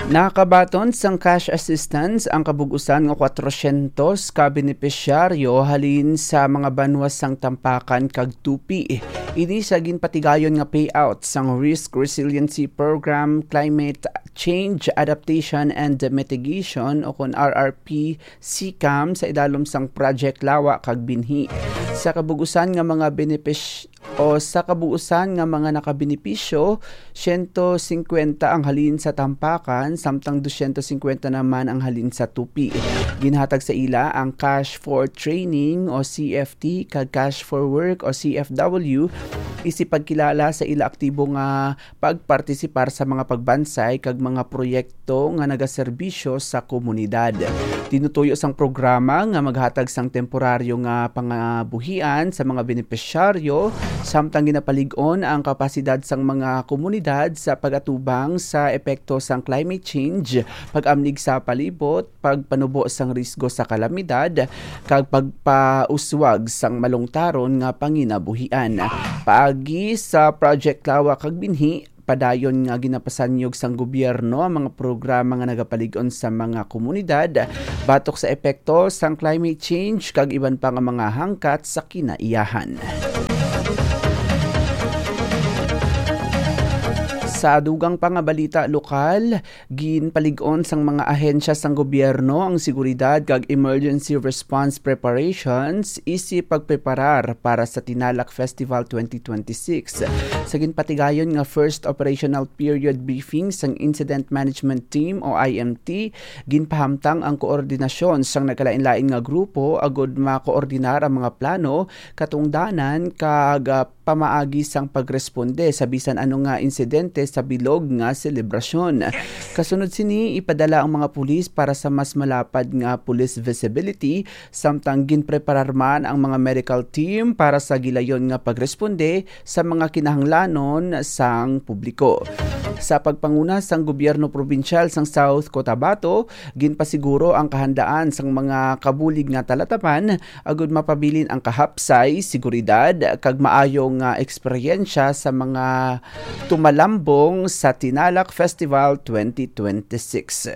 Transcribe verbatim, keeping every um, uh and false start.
Nakabaton sang cash assistance ang kabug-usan nga kwatrosyentos ka benepisyaryo halin sa mga banwa sang Tampakan kag Tupi. Ini sa ginpatigayon nga payout sang Risk Resiliency Program, Climate Change Adaptation and Mitigation o kon R R P C CAM sa idalom sang Project Lawa kag Binhi. Sa kabug-usan nga mga benepis-, o sa kabug-usan nga mga nakabenepisyo, siyento singkwenta ang halin sa Tampakan, samtang dusyentos singkwenta naman ang halin sa Tupi. Ginhatag sa ila ang Cash for Training o C F T kag Cash for Work o C F W, isip pagkilala sa ila aktibo nga pagpartisipar sa mga pagbansay kag mga proyekto nga nagaserbisyo sa komunidad. Tinutuyo sang programa nga maghatag sang temporaryo nga pangabuhian sa mga benepisyaryo, samtang ginapalig-on ang kapasidad sang mga komunidad sa pag-atubang sa epekto sang climate change, pag-amlig sa palibot, pagpanubo sang risgo sa kalamidad, kag pagpauswag sang malungtaron nga panginabuhian. Paagi sa Project Lawa kag Binhi, padayon nga ginapasanyog sang gobyerno ang mga programa nga nagapalig-on sa mga komunidad batok sa epekto sang climate change kag iban pa nga mga hangkat sa kinaiyahan. Sa dugang pa nga balita lokal, ginpalig-on sang mga ahensya sang gobyerno ang seguridad kag emergency response preparations isip pagpreparar para sa Tinalak Festival twenty twenty-six. Sa ginpatigayon nga first operational period briefing sang Incident Management Team o I M T, ginpahamtang ang koordinasyon sang nagkalain-lain nga grupo agud makoordinar ang mga plano, katungdanan, kag, ah, pamaagi sang pagresponde sa bisan ano nga insidente sa bilog nga selebrasyon. Kasunod sini, ipadala ang mga pulis para sa mas malapad nga police visibility, samtang ginpreparar man ang mga medical team para sa gilayon nga pagresponde sa mga kinahanglanon sang publiko. Sa pagpanguna sang gobyerno probinsyal sang South Cotabato, ginpasiguro ang kahandaan sang mga kabulig nga talatapan agud mapabilin ang kahapsay, seguridad, kag maayo nga eksperyensya sa mga tumalambong sa Tinalak Festival twenty twenty-six.